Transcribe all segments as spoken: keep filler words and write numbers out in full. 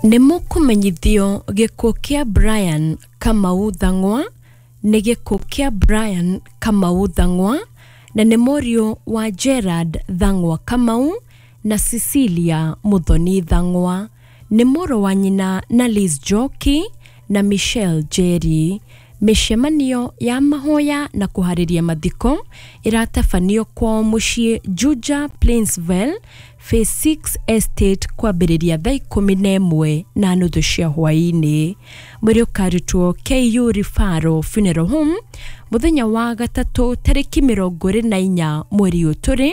Nĩ mũkũmenyithio gĩkuũ kĩa Brian Kamau Thang'wa nĩ gĩkuũ kĩa Brian Kamau Thang'wa na nĩ mũriũ wa Gerard Thang'wa Kamau na Cecilia Muthoni Thang'wa, nĩ mũrũ wa nyina na Liz Njoki na Michelle Njeri. Mĩcemanio ya mahoya na kũharĩria mathiko ĩratabanio kwao mũciĩ Juja Plainsville Phase six Estate kwambĩrĩria thaa ikũmi na ĩmwe na nuthu cia hwaĩ-inĩ. Mwĩrĩ ũkarutwo K U Referral Funeral Home mũthenya wa gatatũ tarĩki mĩrongo ĩrĩ na inya mweri ũyũ tũrĩ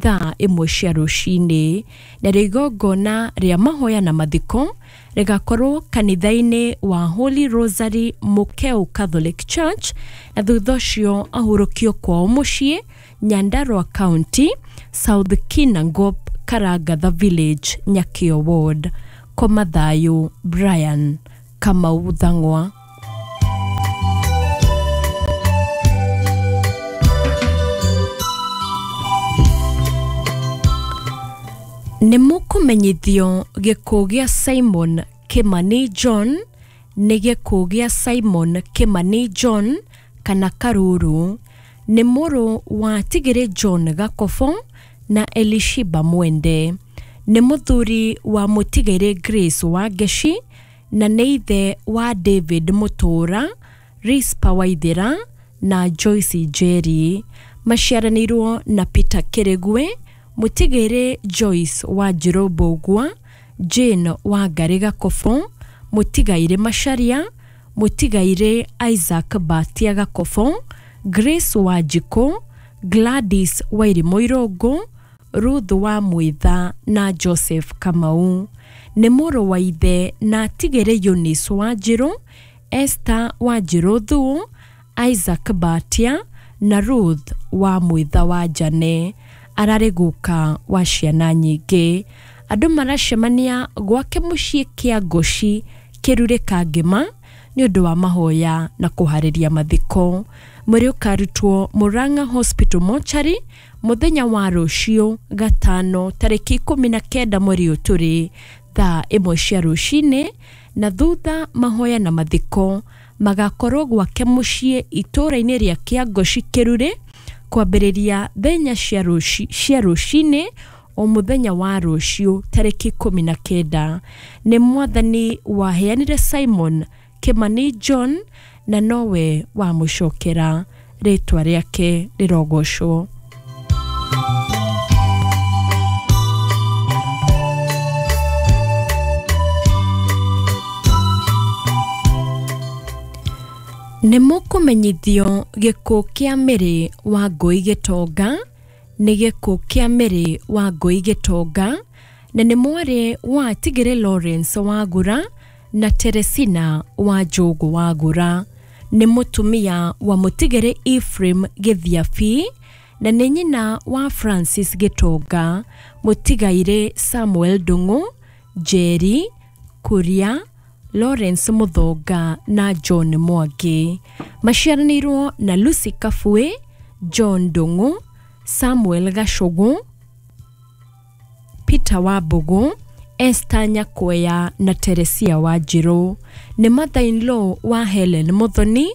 thaa ĩmwe cia rũcinĩ, narĩo igongona rĩa mahoya na mathiko rĩgakorwo kanitha-inĩ wa Holy Rosary Mukeu Catholic Church, na thutha ũcio ahurũkio kwao mũciĩ Nyandarua County, South Kinangop, Karangatha Village, Nyakio Ward. Koma thayũ, Brian Kamau Thang'wa. Nĩ mũkũmenyithio gĩkuũ gĩa Simon Kimani John nĩ gĩkuũ gĩa Simon Kimani John kana Karuru, nĩ mũrũ wa Tigĩrĩ John Gakobo na Elishiba Mwende, nĩ mũthuri wa Mũtigĩrĩ Grace Wangeci na nĩ ithe wa David Mũtũra, Rispa Waithera na Joyce Njeri. Maciaranĩirwo na Peter Kĩrĩgwe, Mũtigĩrĩ Joyce Wanjirũ Mbũgua, Jane Wangari Gakobo, Mũtigairĩ Macharia, Mũtigairĩ Isaac Batia Gakobo, Grace Wanjikũ, Gladys Wairimũ Irũngũ, Ruth wa Mwitha na Joseph Kamau. Nĩ mũrũ wa ithe na Tigĩrĩ Eunice Wanjirũ, Esther Wanjirũ Thuo, Isaac Batia na Ruth wa Mwitha wa Jane. Ararĩ guka wa ciana nyingĩ. Andũ maracemania gwake mũciĩ kĩa Ngoci Kĩrurĩ Kangĩma nĩ ũndũ wa mahoya na kũharĩria mathiko. Mwĩrĩ ũkarutwo Murang'a Hospital Mortuary mũthenya wa rũciũ gatano tarĩki ikũmi na kenda mweri ũyũ tũrĩ thaa ĩmwe cia rũcinĩ, na thutha mahoya na mathiko magakorwo gwake mũciĩ itũũra-inĩ rĩa Kĩangoci Kĩrurĩ kwambĩrĩria thaa inya cia rũcinĩ o mũthenya wa rũciũ tarĩki ikũmi na kenda. Nĩ mwathani waheanire Simon Kimani John na nowe wamũcokera, rĩtwa rĩake rĩrogocwo. Nĩ mũkũmenyithio gĩkuũ kĩa Mary Wangũi Gĩtonga nĩ gĩkuũ kĩa Mary Wangũi Gĩtonga na nĩ mwarĩ wa Tigĩrĩ Lawrence Wagura na Teresina wa Njũgũ Wagura, nĩ mũtumia wa Mũtigĩrĩ Ephraim Gĩthiabi na nĩ nyina wa Francis Gĩtonga, Mũtigairĩ Samuel Ndung'u, Njeri Kuria, Lawrence Muthonga na John Mwangi. Maciaranĩirwo na Lucy Kabue, John Ndung'u, Samuel Gacũgũ, Peter Wambũgũ, Esther Nyakwea na Teresia Wanjirũ. Nĩ mother-in-law wa Helen Muthoni,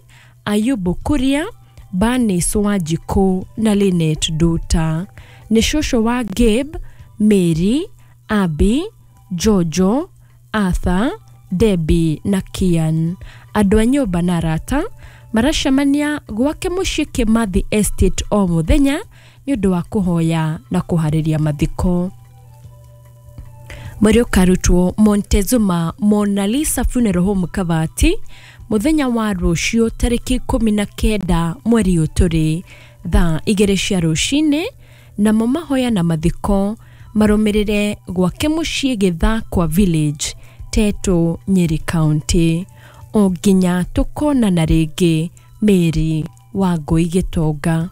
Ayubu Kuria, Bernice Wanjikũ na Lynette Nduta. Nĩ cũcũ wa Gabe, Mary, Abby, Jojo, Arthur, Debbie na Kian. Andũ a nyũmba na arata maracemania gwake mũciĩ Kimathi Estate o mũthenya nĩ ũndũ wa kũhoya na kũharĩria mathiko. Mwĩrĩ ũkarutwo Montezuma Mona Lisa Funeral Home Kabati mũthenya wa rũciũ tarĩki ikũmi na kenda mweri ũyũ tũrĩ thaa igĩrĩ cia rũcinĩ, namo mahoya na mathiko marũmĩrĩre gwake mũciĩ Gĩthakwa Village, Teto, Nyeri County. O nginya tũkonana rĩngĩ, Mary Wangũi Gĩtonga.